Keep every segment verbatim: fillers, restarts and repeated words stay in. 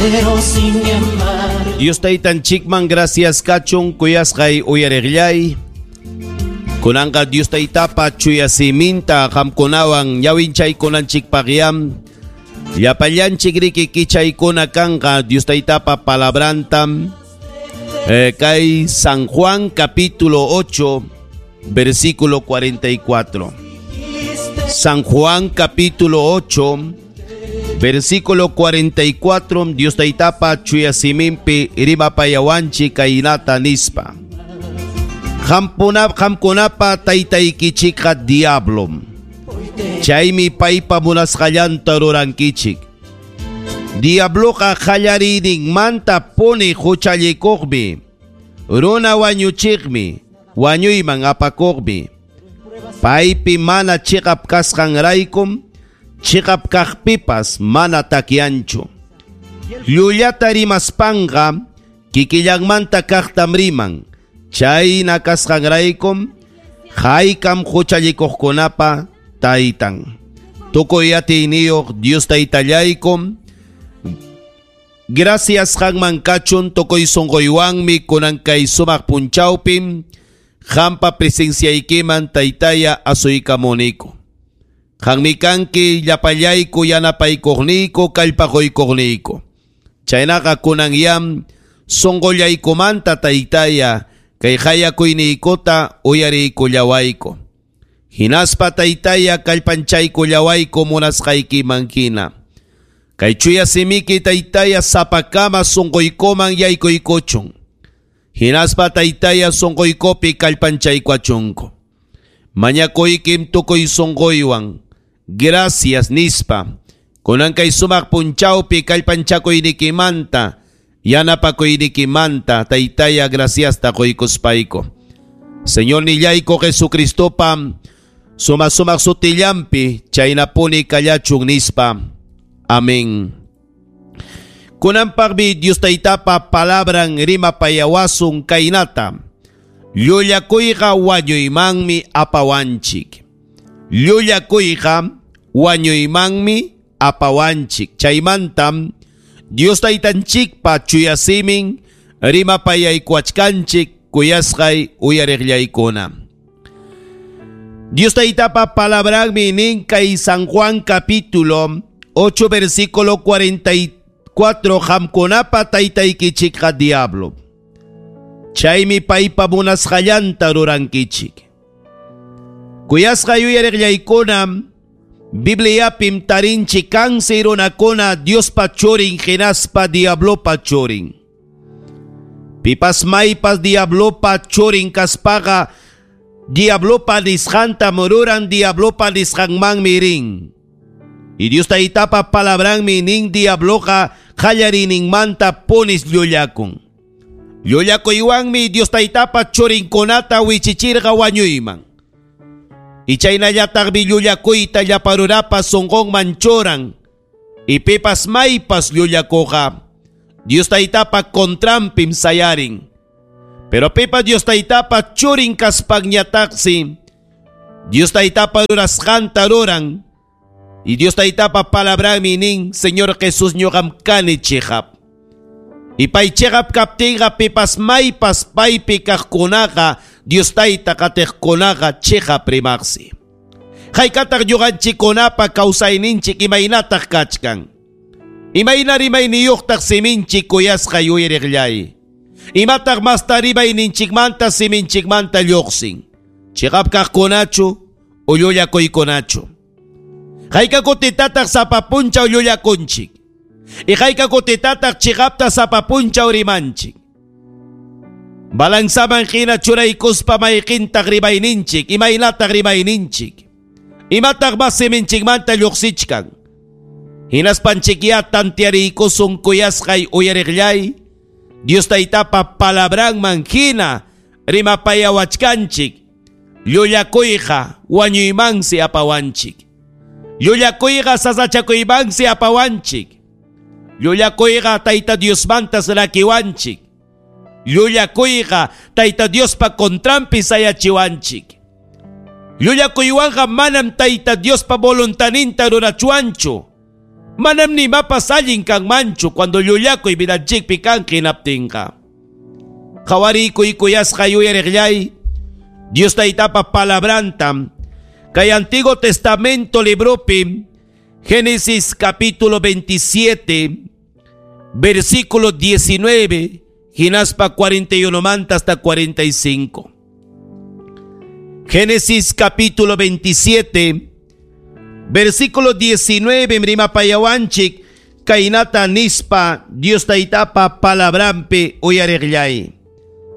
Pero sin embargo, Dios taytanchikman gracias kachun kuyasqay uyariqllay. Kunanqa Dios taytapa chuya siminta qamkunawan ñawinchaykunanchikpaqyam. Llapallanchik riki kichaykuna kanqa Dios taytapa palabrantam. Eh, kay San Juan capítulo ocho versículo cuarenta y cuatro. San Juan capítulo ocho versículo cuarenta y cuatro, Dios taytapa chuya siminpi rimapayawanchik kaynata nispa. Qampunap qamkunapa taytaykichikqa diablom. Chaymi paypa munasqallanta rurankichik. Diabloqa qallariyninmanta puni huchallikuqmi, runa wañuchiqmi, wañuyman apakuqmi. Paypi mana chiqap kasqanraykum, chiqap kaqpipas mana takyanchu. Llullata rimaspanqa kikillanmanta kaqtam riman. Chayna kasqanraykum, haykam huchallikuqkunapa taytan. Tukuy atiyniyuq Dios taytallaykum, gracias qanman kachun tukuy sunquywanmi kunan kay sumaq punchawpim qampa presenciaykiman taytaya asuykamuniku. Qanmi kanki llapallayku yanapaykuqniyku kallpaquykuqniyku. Chaynaqa kunan yam sunqullaykumanta taytaya kay hayakuyniykota uyariykullawayku. Hinaspa taytaya kallpanchaykullawayku munasqaykiman hina. Kay chuya simiki taytaya sapakama sunquykuman yaykuykuchun. Hinaspa taytaya sunquykupi kallpanchaykuachunku. Mañakuykim tukuy sunquywan. Gracias nispa. Kunan kay sumaq punchawpi kallpanchakuynikimanta, yanapakuynikimanta taytaya graciasta quykuspayku. Señor nillayku Jesucristopa suma sumaq sutillampi chaynapuni kallachun nispa. Amén. Kunanpaqmi Dios taytapa palabran rimapayawasun kaynata. Llullakuyqa wañuymanmi apawanchik. Llullakuyqa wañuymanmi apawanchik. Chaymantam Dios taytanchikpa chuya simin rimapayaykuachkanchik kuyasqay uyariqllaykuna. Dios taytapa palabranmi nin kay San Juan capítulo ocho versículo cuarenta y cuatro, qamkunapa taytaykichikqa diablo. Chaymi paypa munasqallanta rurankichik. Kuyasqay uyariqllaykuna, Bibliapim tarinchik kansi runakuna Diospa churin hinaspa diablopa churin. Pipas maypas diablopa churin kaspaqa diablopa nisqanta mururan, diablopa nisqanmanmi rin. Y Dios taytapa palabranmi nin diabloqa qallariyninmanta punis llullakun. Llullakuywanmi Dios taytapa churinkunata wichichirqa wañuyman. Y chaynallataqmi llullakuyta llaparurapa sunqunman churan. Y pipas maypas llullakuqa Dios taytapa contranpim sayarin. Pero pipa Dios taytapa churin kaspanñataqsi Dios taytapa rurasqanta ruran. Y Dios taytapa palabranmi nin Señor Jesús ñuqam kani chiqap. Y pay chiqap kaptinqa pipas maypas paypi kaqkunaqa Dios tayta qatiqkunaqa chiqap rimaqsi. Haykataq ñuqanchikkunapa kawsayninchik imaynataq kachkan. Imayna rimayniyuqtaq siminchik kuyasqa yuyariqllay. Imataq masta rimayninchikmanta siminchikmanta lluqsin. Chiqap kaqkunachu o llullakuykunachu. Hayka kutitataq sapa punchaw llullakunchik. Y hayka kutitataq chiqapta sapa punchaw rimanchik. Balanzaman hina churaykuspa mayqintaq rimayninchik, imaynataq rimayninchik. Imataq mas siminchikmanta lluqsichkan. Hinaspanchikya tantiariykusun kuyasqay uyariqllay. Dios taytapa palabranman hina rimapayawachkanchik. Llullakuyqa wañuymansi apawanchik. Llullakuyqa sasachakuymansi apawanchik. Llullakuyqa Tayta Diosmantas rakiwanchik. Llullakuyqa Tayta Diospa contranpi sayachiwanchik. Llullakuywanqa manam Tayta Diospa voluntaninta rurachuanchu. Manam nimapas allin kanmanchu cuando llullakuy vidanchikpi kan hinaptinqa. Qawarikuy kuyasqa yuyariqllay Dios taytapa palabranta kay Antiguo Testamento libropi Génesis capítulo veintisiete versículo diecinueve hinaspa cuarenta y uno manta hasta cuarenta y cinco. Génesis capítulo veintisiete versículo diecinueve rimapayawanchik kaynata nispa Dios taytapa palabrampi uyariqllay.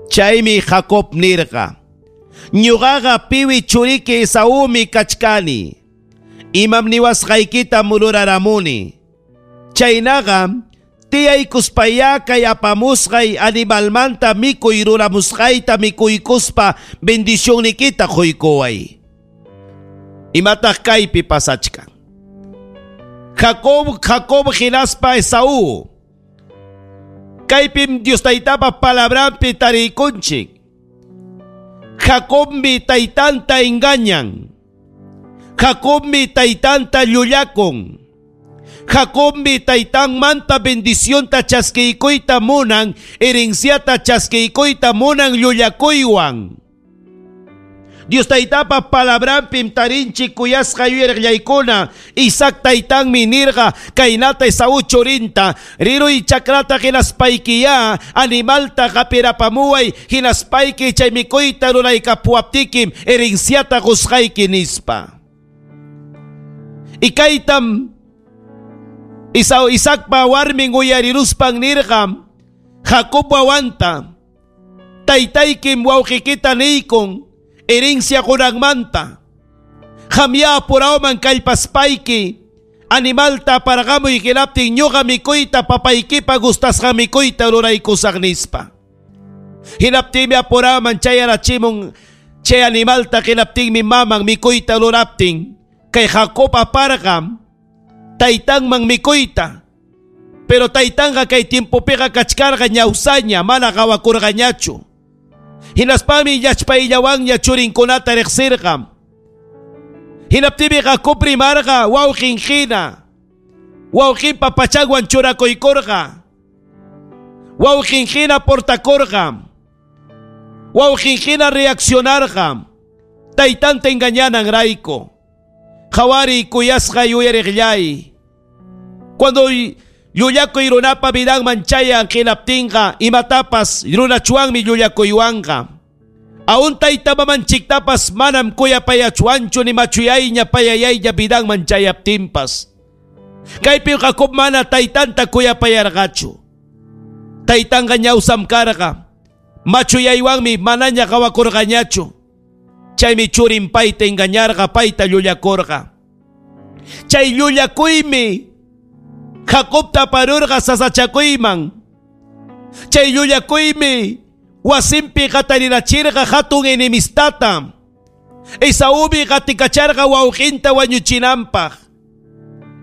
Chaymi Jacob nirqa: ñuqaqa piwi churiki Esaúmi kachkani. Imam niwasqaykita mururaramuni. Chaynaqa tiyaykuspayá kay apamusqay animalmanta mikuy ruramusqayta mikuykuspa bendicionnikita quykuway. Imataq kaypi pasachkan? Jacob, Jacob hinaspa Esaú. Kaypim Dios taytapa palabranpi tarikunchik. Jacobmi taytanta engañan. Jacobmi taytanta llullakun. Jacobmi taytanmanta bendicionta chaskiykuyta munan, herenciata chaskiykuyta munan llullakuywan. Dios taytapa palabranpim tarinchik kuyasqa yuyariqllaykuna. Isaac taytanmi nirqa kaynata Esaú churinta: riruy chakrata hinaspaykiyá animalta qapirapamuway hinaspayki chay mikuyta ruraykapuwaptikim herenciata qusqayki nispa. Y kaytam Isao Isaacpa warmin uyariruspan nirqa Jacob wawanta: taytaykim wawqikita niykun herencia qunanmanta. Qamya apurawman kallpaspayki animalta aparqamuy hinaptin ñuqa mikuyta papaykipa gustasqa mikuyta ruraykusaq nispa. Hinaptinmi apurawman chayarachimun chay animalta hinaptinmi maman mikuyta ruraptin kay Jacob aparqa taytanman mikuyta. Pero taytanqa kay tiempopiqa kachkarqa ñawsaña mana qawakurqañachu. Hinaspami llachpayllawanña churinkunata riqsirqa. Hinaptinmi Jacob rimarqa wawqin hina. Wawqinpa pachanwan churakuykurqa. Wawqin hina portakurqa. Wawqin hina reaccionarqa. Taytanta engañananrayku. Qhawariy kuyasqa yuyariqllay. Cuando llullakuy runapa vidanman chayan hinaptinqa imatapas runachuanmi llullakuywanqa. Aun tayta mamanchiktapas manam kuyapayachuanchu ni machuyayña payayayña vidanman chayaptinpas. Kaypi Jacob mana taytanta kuyapayarqachu. Taytanqa ñawsam karqa. Machuyaywanmi manaña qawakurqañachu. Chaymi churin payta engañarqa, payta llullakurqa. Chay llullakuymi Jacobta aparurqa sasachakuyman. Chay llullakuymi wasinpi qatarirachirqa hatun enemistata. Esaúmi qatikacharqa wawqinta wañuchinanpaq.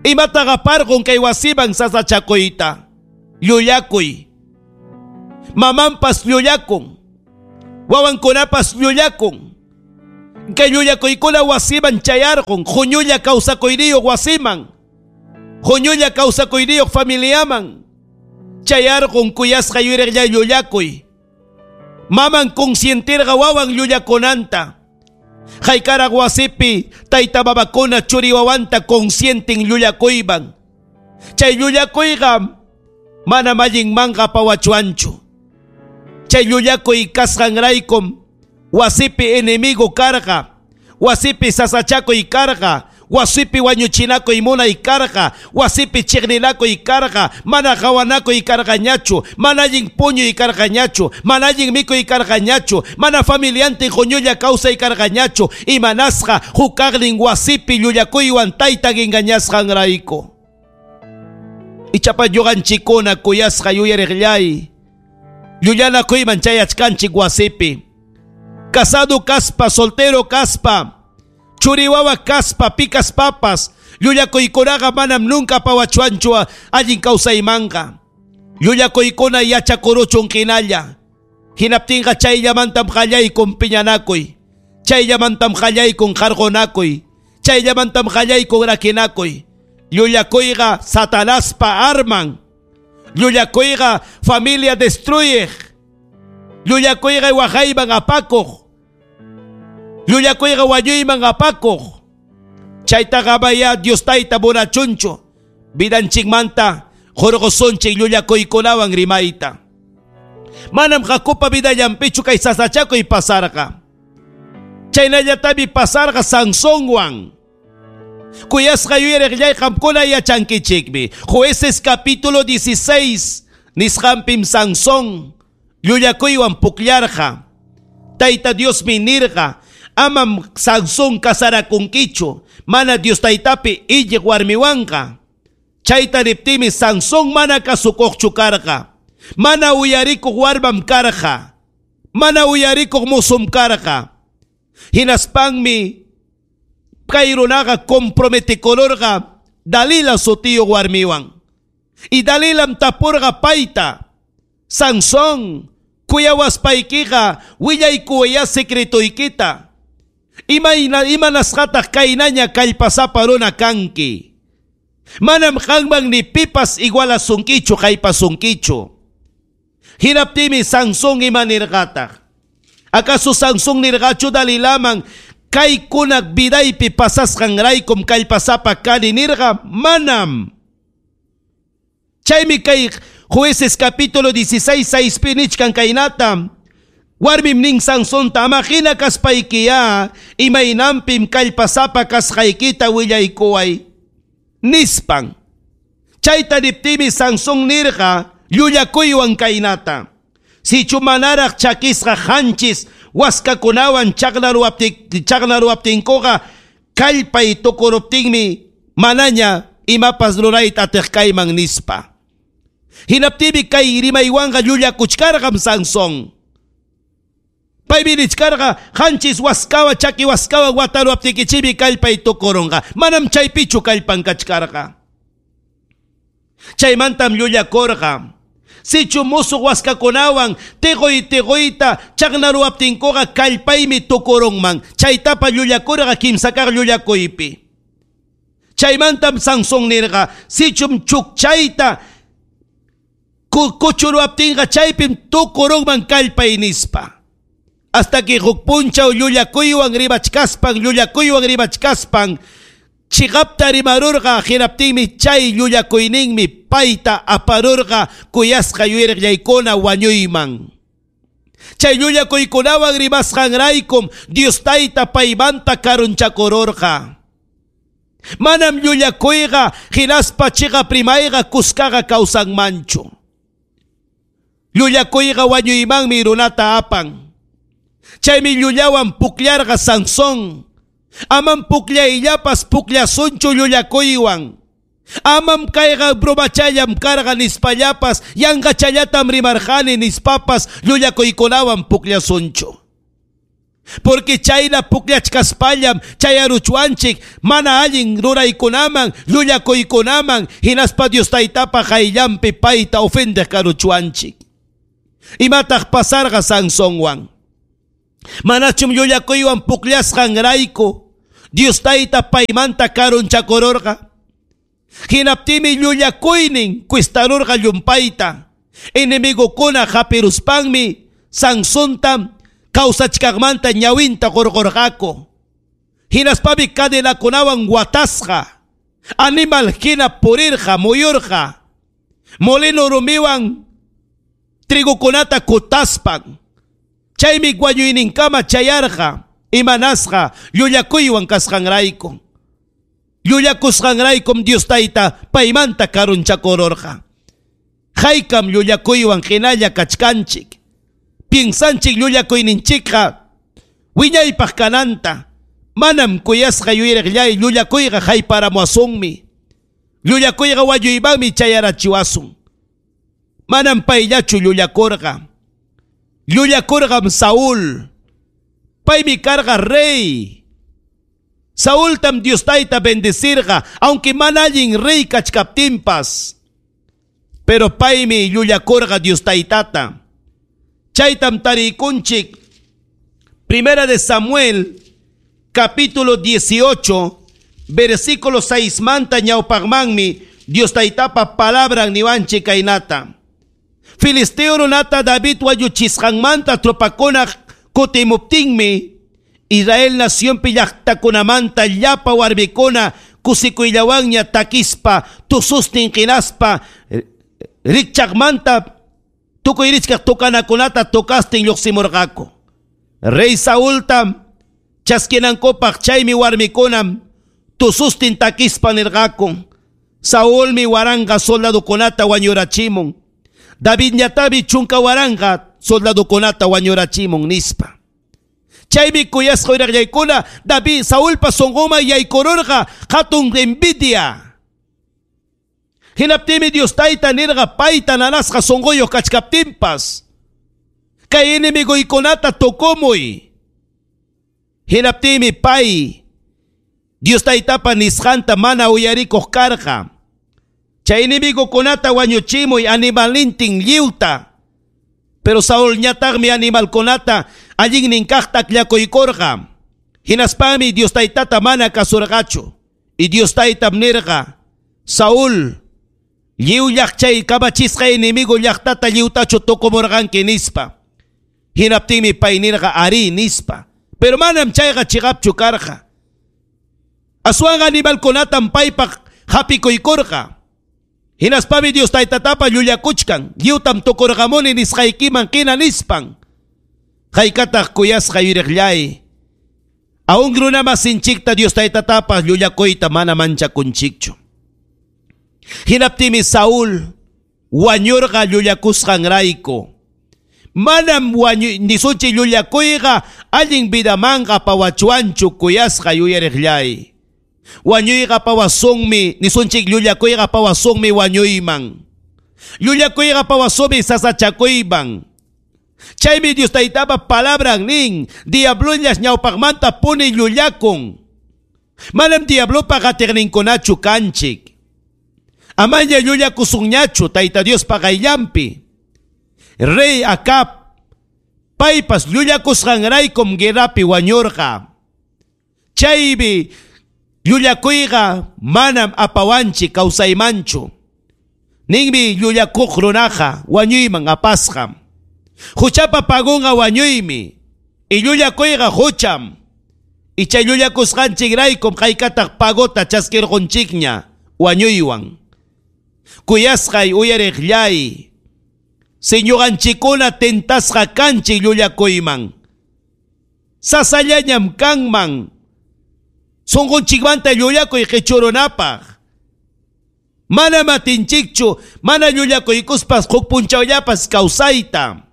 Imataqa aparqun kay wasiman sasachakuyta? Llullakuy. Mamanpas llullakun. Wawankunapas llullakun. Kay llullakuykuna wasiman chayarqun, huñulla kawsakuyniyuq wasiman. Huñulla kawsakuyniyuq familiaman. Chayarqun kuyasqa yuyariqlla llullakuy. Maman consientirqa wawan llullakunanta. Haykaraq wasipi tayta mamakuna churi wawanta consienten llullakuyman. Chay llullakuyqa manam allinmanqa apawachuanchu. Chay llullakuy kasqanraykum wasipi enemigo karqa, wasipi sasachakuy karqa, wasipi wañuchinakuy munay karqa, wasipi chiqninakuy karqa, mana qawanakuy karqañachu, mana allin puñuy karqañachu, mana allin mikuy karqañachu, mana familiantin huñulla kawsay karqañachu, imanasqa hukaqnin wasipi llullakuywan taytan engañasqanrayku. Ichapa ñuqanchikkuna kuyasqa yuyariqllay, llullanakuyman chayachkanchik wasipi. Casado kaspa, soltero kaspa, churiwawa kaspa, picas papas, llullakuykunaqa manam nunca pawachuanchu allin kawsaymanqa. Llullakuykuna yachakuruchun hinalla. Hinaptinqa chayllamantam qallaykun piñanakuy. Chayllamantam qallaykun qarqunakuy. Chayllamantam qallaykun rakinakuy. Llullakuyqa Satanaspa arman. Llullakuyqa familia destruyeq. Llullakuyqa waqayman apakuq. Llullakuyqa wañuyman apakuq. Chaytaqa amaya Dios tayta munachunchu. Vidanchikmanta hurqusunchik llullakuykunawan rimayta. Manam Jacobpa vidallanpichu kay sasachakuy pasarqa. Chaynallatami pasarqa Sansonwan. Kuyasqa yuyariqllay qamkuna yachankichikmi. Jueces capítulo dieciséis nisqanpim Sansón llullakuywan pukllarqa. Tayta Diosmi nirqa, amam Sansón casarakunkichu, mana Dios taytapi illiq warmiwanqa. Chayta niptimi Sansón mana kasukuqchu karqa. Mana uyarikuq warmam karqa. Mana uyarikuq musum karqa. Hinaspanmi kay runaqa comprometikururqa Dalila sutiyuq warmiwan. Y Dalilam tapurqa payta, Sansón, kuyawaspaykiqa willaykuwaya secretoykita. Imayna imanasqataq kaynaña kallpasapa runa kanki. Manam qanman ni pipas igualasunkichu kaypasunkichu. Hinaptimi Sansón ima nirqataq. Acaso Sansón nirqachu Dalilaman kaykunak vidaypi pasasqanraykum kallpasapa kani nirqa? Manam. Chaymi kay Jueces capítulo dieciséis seispi nichkan kaynata. Warmim nin Sansonta, ama hina kaspaykiya imaynampim kallpasapa kasqaykita willaykuway nispan. Chayta niptimi Sansón nirqa llullakuywan kaynata. Sichu manaraq chakisqa qanchis waskakunawan chaqnaruwaptinkuqa kallpay tukuruptinmi manaña imapas rurayta atiq kayman nispa. Hinaptimi kay rimaywanqa llullakuchkarqam Sansón. Paymi nichkarqa qanchis waskawa chaki waskawa wataruwaptikichikmi kallpay tukurunqa. Manam chaypichu kallpan kachkarqa. Chaymantam llullakurqa. Sichu musuq waskakunawan tiquy tiquyta chaqnaruwaptinkuqa kallpaymi tukurunman. Chaytapa llullakurqa kimsa kaq llullakuypi. Chaymantam Sansón nirqa, sichum chukchayta kuchuruwaptinqa chaypim tukurunman kallpay nispa. Hasta que huk punchaw llullakuywan rimachkaspan, llullakuywan rimachkaspan, chiqapta rimarurqa, hinaptinmi chay llullakuyninmi payta aparurqa kuyasqa yuyariqllaykuna wañuyman. Chay llullakuykunawan rimasqanraykum Dios tayta paymanta karunchakururqa. Manam llullakuyqa hinaspa chiqap rimayqa kuskaqa kawsanmanchu. Llullakuyqa wañuymanmi runata apan. Chaymi llullawan pukllarqa Sansón. Amam pukllayllapas pukllasunchu llullakuywan. Amam kayqa bromachallam karqa nispallapas yanqachallatam rimarqani nispapas llullakuykunawan pukllasunchu. Porque chayna pukllachkaspallam chayaruchwanchik mana allin ruraykunaman llullakuykunaman hinaspa Dios taytapa qayllanpi payta ofendeq karuchwanchik. Imataq pasarqa Sansonwan? Manachum llullakuywan pukllasqanrayku Dios tayta paymanta karunchakururqa. Hinaptimi llullakuynin cuestarurqa llumpayta. Enemigokuna hapiruspanmi Sansonta kawsachkaqmanta ñawinta qurqurqaku. Hinaspami cadenakunawan watasqa. Animal hina purirqa muyurqa. Molino rumiwan trigukunata kutaspan. Chaymi wañuyninkama chayarqa imanasqa llullakuywan kasqanrayku. Llullakusqanraykum Dios tayta paymanta karunchakururqa. Haykam llullakuywan hinalla kachkanchik. Piensanchik llullakuyninchikqa wiñaypaq kananta. Manam kuyasqa yuyariqllay llullakuyqa hayparamuwasunmi. Llullakuyqa wañuymanmi chayarachiwasun. Manam payllachu llullakurqa. Llullakurqam Saúl. Paymi karqa rey. Saúltam Dios tayta bendecirqa, aunque mana allin rey kachkaptinpas. Pero paymi llullakurqa Dios taytata. Chaytam tarikunchik. Primera de Samuel, capítulo dieciocho, versículo seis manta ñawpaqmanmi Dios Taytapa palabran niwanchik kaynata. Filisteo runata David wañuchisqanmanta tropakuna kutimuptinmi Israel nacionpi llaqtakunamanta llapa warmikuna kusikuyllawanña takispa tusustin qinaspa rikchaqmanta tukuy richkaq tukanakunata tukastin lluqsimurqaku. Rey Saulta chaskinankupaq chaymi warmikunam tusustin takispa nirqaku. Saulmi waranqa soldadukunata wañurachimun. Davidñataqmi chunka waranqa soldadukunata wañurachimun nispa. Chaymi kuyasqa uyraqllaykuna David Saulpa sunquman yaykururqa hatun envidia. Hinaptinmi Dios Tayta nirqa payta nanasqa sunquyuq kachkaptinpas kay enemiguykunata tukumuy. Hinaptinmi pay Dios Taytapa nisqanta mana uyarikuq karqa. Chay enemigukunata wañuchimuy animalnintin lliwta. Pero Saúl ñataqmi animalkunata allinnin kaqta akllakuykurqa. Hinaspami Dios Taytata mana kasurqachu. Y Dios Taytam nirqa, Saúl, lliw llaqchay kamachisqa enemigo llaqtata lliwtachu tukumurqanki nispa. Hinaptinmi pay nirqa ari nispa. Pero manam chayqa chiqapchu karqa. Aswanqa animalkunatam paypaq hapikuykurqa. Hinaspami Dios Taytatapa llullakuchkan, lliwtam tukurqamuni nisqaykiman qina nispan. Haykataq kuyasqa yuriqllay. Aun runamasinchikta Dios Taytatapa llullakuyta mana manchakunchikchu. Hinaptinmi Saúl wañurqa llullakusqanrayku. Manam wañu nisunchik llullakuyqa allin vidamanqa pawachuanchu kuyasqa yuyariqllay. Wañuyqa pawasunmi nisunchik llullakuyqa pawasunmi wañuyman. Llullakuyqa pawasunmi sasachakuyman. Chaymi Dios Taytapa palabran nin, diablullas ñawpaqmanta puni llullakun. Manam diablopa qatiqninkunachu kanchik. Amaña llullakusunñachu Tayta Diospa qayllanpi. Rey Acab paypas llullakusqanraykum guerrapi wañurqa. Chaymi llullakuyqa manam apawanchik kawsaymanchu. Ninmi llullakuq runaqa wañuyman apasqa. Huchapa pagunqa wañuymi. Y llullakuyqa hucham. Y chay llullakusqanchikraykum haykataq pagota chaskirqunchikña wañuywan. Kuyasqay uyariqllay. Si ñuqanchikkuna tentasqa kanchik llullakuyman. Sasallañam kanman. Sunqunchikmanta llullakuy qichurunapaq. Mana matinchikchu, mana llullakuykuspas huk punchawllapas kawsayta.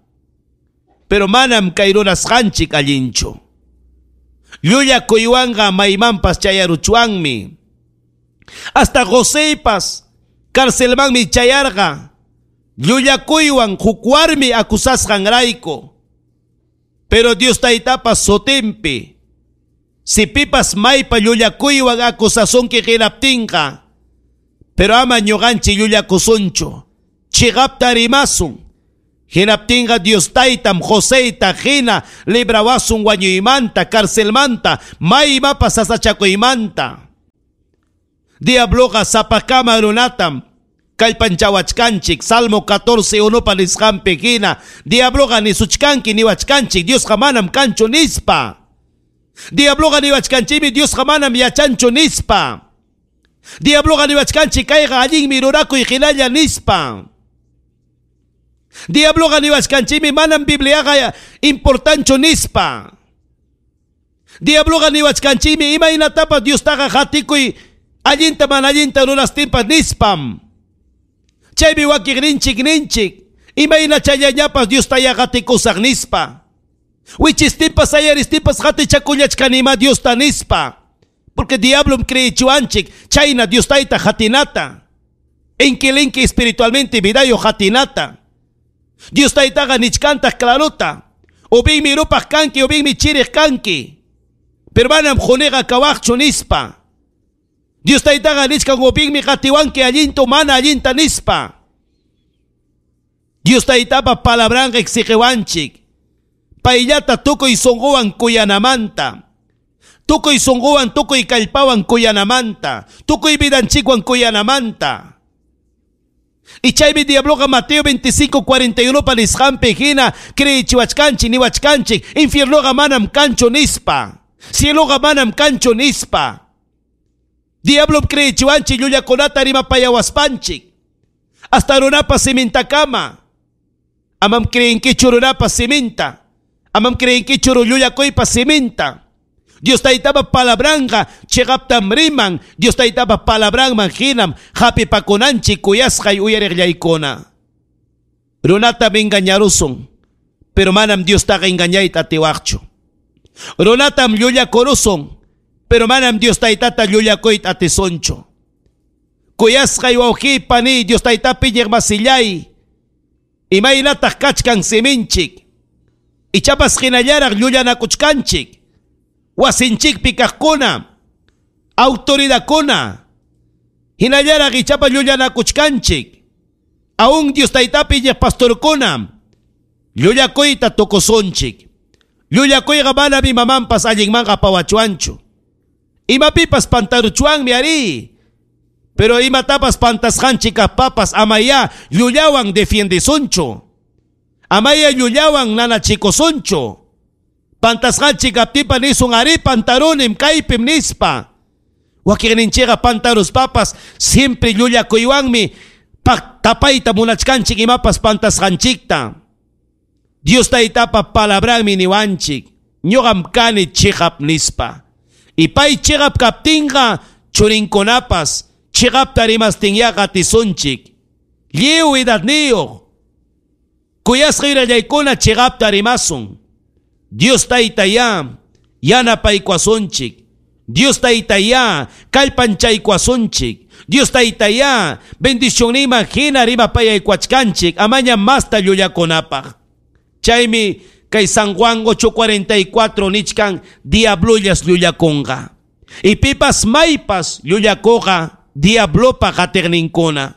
Pero manam kay runasqanchik allinchu. Llullakuywanqa maymanpas chayaruchwanmi. Hasta Joseypas carcelmanmi chayarqa. Llullakuywan huk warmi acusasqanrayku. Pero Dios Taytapa sutinpi si pipas maypa llullakuywan acusasunki hinaptinqa, pero ama ñuqanchik llullakusunchu, chiqapta rimasun. Hinaptinqa Dios Taytam Joseyta hina librawasun wañuymanta, carcelmanta, maymapas sasachakuymanta. Diabloqa sapakama runatam kallpanchawachkanchik. Salmo catorce unopa nisqanpi hina diabloqa nisuchkanki niwachkanchik Diosqa manam kanchu nispa. Diabloqa niwachkanchikmi Diosqa manam yachanchu nispa. Diabloqa niwachkanchik kayqa allinmi rurakuy hinalla nispa. Diabloqa niwachkanchikmi manam Bibliaqa importanchu nispa. Diabloqa niwachkanchikmi imaynatapas Diostaqa hatikuy allinta mana allinta rurastinpas nispam. Chaymi wakiqninchik ninchik imayna chayllañapas Diosta hatikusaq nispa. Wichistinpas ayaristinpas hatichakullachkanima Diosta nispa. Porque diablom creechiwanchik chayna Dios Tayta hatinata. Inkilinki espiritualmente vidayo hatinata. Dios Taytaqa nichkantaq clarota. Ubinmi rupaq kanki, ubinmi chiriq kanki. Pero manam quniqa kawaqchu nispa. Dios Taytaqa nichkan ubinmi qatiwanki allinta mana allinta nispa. Dios Taytapa palabranqa exigiwanchik. Payllata tukuy sunquwan kuyanamanta. Tukuy sunquwan, tukuy kallpawan kuyanamanta, tukuy vidanchikwan kuyanamanta. Y chaymi diabloqa Mateo veinticinco cuarenta y uno pa nisqanpi hina creyichiwachkanchik niwachkanchik infiernoqa manam kanchu nispa, cieloqa manam kanchu nispa. Diablo creyichiwanchik llullakunata rimapayawaspanchik hasta runapa simintakama. Amam creenkichu runapa siminta, amam creenkichu llullakuypa siminta. Dios taytapa palabranqa chiqaptam riman, Dios taytapa palabranman hinam hapipakunanchik kuyasqay uyariqllaykuna. Runatam engañarusun, pero manam Diostaqa engañayta atiwaqchu. Runatam llullakurusun, pero manam Dios taytata llullakuyta atisunchu. Kuyasqay wawqiy pani, Dios taytapi iñiqmasillay, imaynataq kachkan siminchik, ichapas hinallaraq llullanakuchkanchik. Wasinchikpi kaqkuna, autoridadkuna, hinallaraq ichapa llullanakuchkanchik. Aún Dios taytapi iñiq pastorkuna, llullakuyta tukusunchik. Llullakuyqa manam imamanpas allinmanqa apawachuanchu. Imapipas pantaruchuanmi ari, pero imatapas pantasqanchik kaqpapas amaya llullawan defiendesunchu, amaya llullawan nanachikusunchu. Pantasqanchik kaptinpa nisun ari pantarunim kaypim nispa. Wakinninchikqa pantaruspapas siempre llullakuywanmi tapayta munachkanchik imapas pantasqanchikta. Dios taytapa palabranmi niwanchik, ñuqam kani chiqap nispa. Y pay chiqap kaptinqa churinkunapas chiqapta rimastinyaqa atisunchik. Lliw edadniyuq kuyasqa yurallaykuna chiqapta rimasun. Dios taytaya yanapaykuwasunchik. Dios taytaya kallpanchaykuwasunchik. Dios taytaya bendicionniman hina rimapayaykuwachkanchik amaña masta llullakunapaq. Chaymi kay San Juan ocho cuarenta y cuatro nichkan diablollas llullakunqa. Y pipas maypas llullakuqa diablopa qatiqninkuna.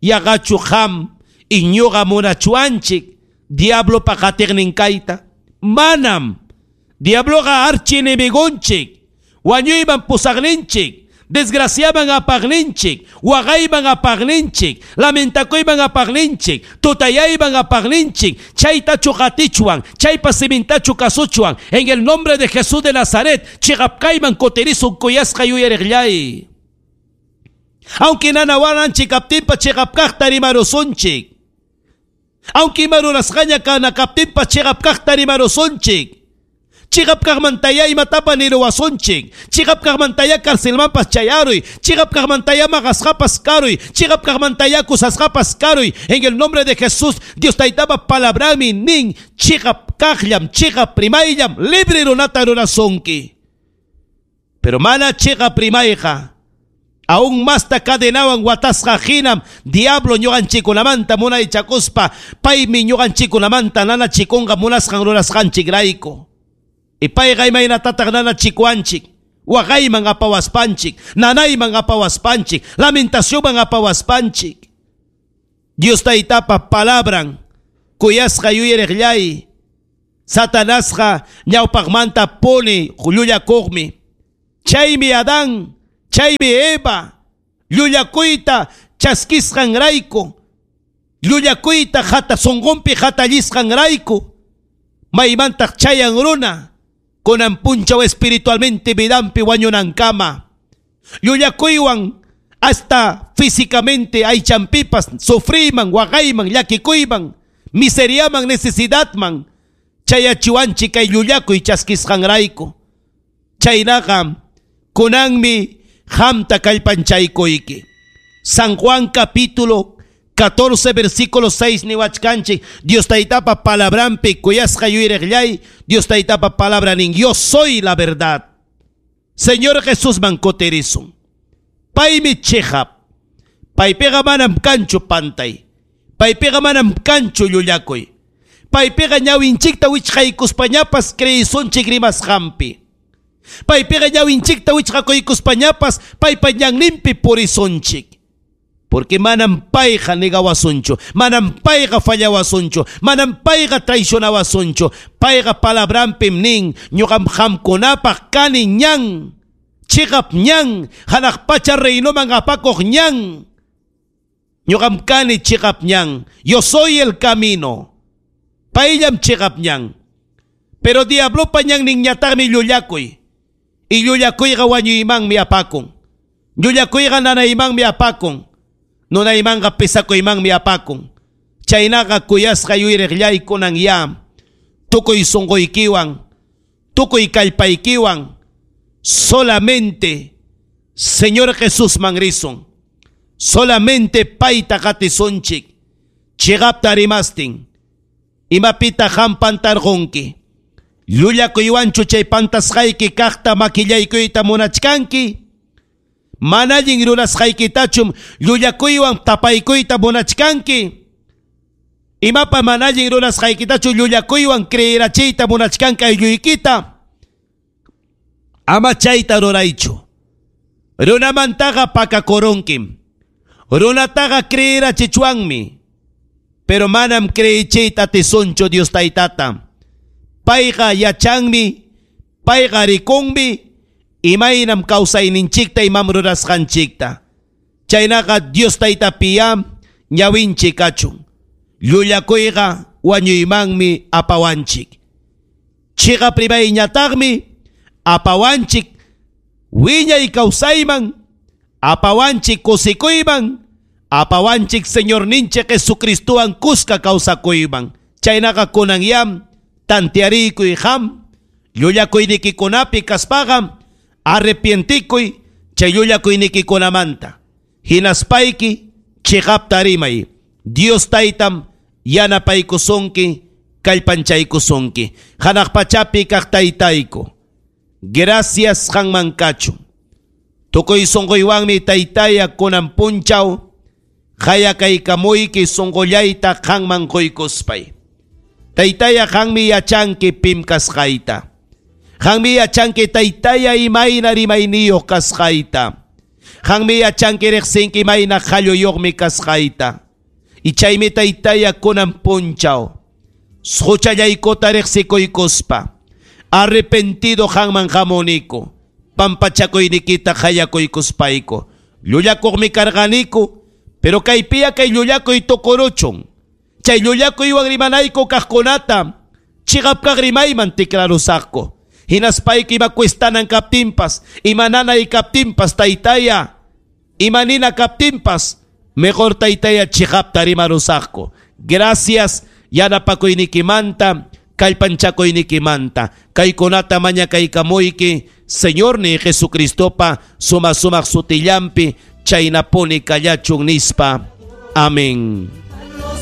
Yaqachu qam iñuqa munachuanchik diablopa qatiqnin kayta. Manam. Diabloqa archienemigonchik, wañuyman pusaqninchik, desgraciaman apaqninchik, waqayman apaqninchik, lamentakuyman apaqninchik, tutayayman apaqninchik, chaytachu qatichwan, chaypa simintachu kasuchwan, en el nombre de Jesús de Nazaret, chiqapkayman kutirisun kuyasqa yuyariqllay. Aunque nanawananchik kaptinpa chiqapkaqta rimarusunchik. Aunque ima rurasqaña kanakaptinpas chiqapkaqta rimarusunchik. Chiqapkaqmantaya imatapa niruwasunchik. Chiqapkaqmantaya carcelmanpas chayaruy. Chiqapkaqmantaya maqasqapas karuy. Chiqapkaqmantaya kusasqapas karuy. En el nombre de Jesús, Dios taytapa palabrami nin chiqapkaqllam, chiqap rimayllam, libre runata rurasunki. Pero mana chiqap rimayqa aún masta cadenawan watasqa hinam diablo ñuqanchikunamanta munaychakuspa paymi ñuqanchikunamanta nanachikunqa munasqan rurasqanchikrayku. Y payqa imaynatataq nanachikuanchik, waqayman apawaspanchik, nanayman apawaspanchik, lamentacionman apawaspanchik. Dios taytapa palabran kuyasqa yuyariqllay, Satanasqa ñawpaqmanta puni llullakuqmi. Chaymi Adán, chaymi Eva, llullakuyta chaskisqanrayku, llullakuyta hata sunqunpi hatallisqanrayku, maymantaq chayan runa, kunan punchaw espiritualmente vidanpi wañunankama. Llullakuywan hasta físicamente aychanpipas sufriman, waqayman, llakikuyman, miseriaman, necesidadman, chayachiwanchik kay llullakuy chaskisqanrayku. Chaynaqa kunanmi hamta kallpanchaykuyki. San Juan capítulo catorce versículo seis niwachkanchik, Dios taytapa palabranpi kuyasqa yuyariqllay, Dios taytapa palabra nin, yo soy la verdad. Señor Jesús man kutirisun. Paymi chiqap. Paypiqa manam kanchu pantay. Paypiqa manam kanchu llullakuy. Paypiqa ñawinchikta wichqaykuspañapas creyisunchik rimasqanpi. Paypiqa ñawinchikta wichqakuykuspañapas paypa ñanninpi purisunchik. Porque manam payqa negawasunchu, manam payqa fallawasunchu, manam payqa traicionawasunchu. Payqa palabranpim nin, ñuqam qamkunapaq kani ñan, chiqap ñan, hanaq pacha reinoman apakuq ñan. Ñuqam kani chiqap ñan, yo soy el camino. Payllam chiqap ñan. Pero diablopa ñanninñataqmi llullakuy. Y llullakuyqa wañuymanmi apakun. Llullakuyqa nanaymanmi apakun. Nunaymanqa pesakuymanmi apakun. Chaynaqa kuyasqa yuyriqllaykunan ya. Tukuy sunquykiwan, tukuy kallpaykiwan, solamente Señor Jesusman risun. Solamente payta qatisunchik. Chiqapta rimastin. Imapita qam pantarqunki. Llullakuywanchu chay pantasqayki kaqta makillaykuyta munachkanki. Mana allin rurasqaykitachum llullakuywan tapaykuyta munachkanki. Imapa mana allin rurasqaykitachu llullakuywan creerachiyta munachkanki aylluykita. Ama chayta ruraychu. Runamantaqa pakakurunkim. Runataqa creerachichwanmi. Pero manam creechiyta atisunchu Dios taytata. Payqa yachanmi, payqa rikunmi, imaynam kawsayninchikta imam rurasqanchikta. Chaynaqa Dios taytapiyam ñawinchik kachun. Llullakuyqa wañuymanmi apawanchik. Chiqap rimayñataqmi apawanchik wiñay kawsayman, apawanchik kusikuyman, apawanchik Señorninchik Jesucristowan kuska kawsakuyman. Chaynaqa kunan yam tantearikuy qam, llullakuynikikunapi kaspaqa arrepientikuy chay llullakuynikikunamanta. Hinaspayki chiqapta rimay. Dios taytam yanapaykusunki, kallpanchaykusunki. Hanaq pachapi kaq taytayku. Gracias qanman kachun. Tukuy sunquywanmi taytaya kunan punchaw qayakaykamuyki sunqullayta qanman quykuspay. Taytaya qanmi yachanki pim kasqayta. Qanmi yachanki taytaya imayna rimayniyuq kasqayta. Qanmi yachanki riqsinki imayna qalluyuqmi kasqayta. Y chaymi taytaya kunan punchaw huchallaykuta riqsikuykuspa arrepentido qanman hamuniku. Pampachakuynikita qayakuykuspayku. Llullakuqmi karqaniku, pero kaypiya kay llullakuy tukuruchun. Chay llullakuywan rimanayku kaqkunata chiqap kaq rimayman tikrarusaqku. Hinaspayki ima cuestanan kaptinpas, ima nanay kaptinpas taytaya, ima nina kaptinpas, mejor taytaya chiqapta rimarusaqku. Gracias yanapakuynikimanta, kallpanchakuynikimanta. Kaykunata mañakaykamuyki, Señor ni Jesucristopa suma sumaq sutillampi, chaynapuni kallachun nispa. Amén.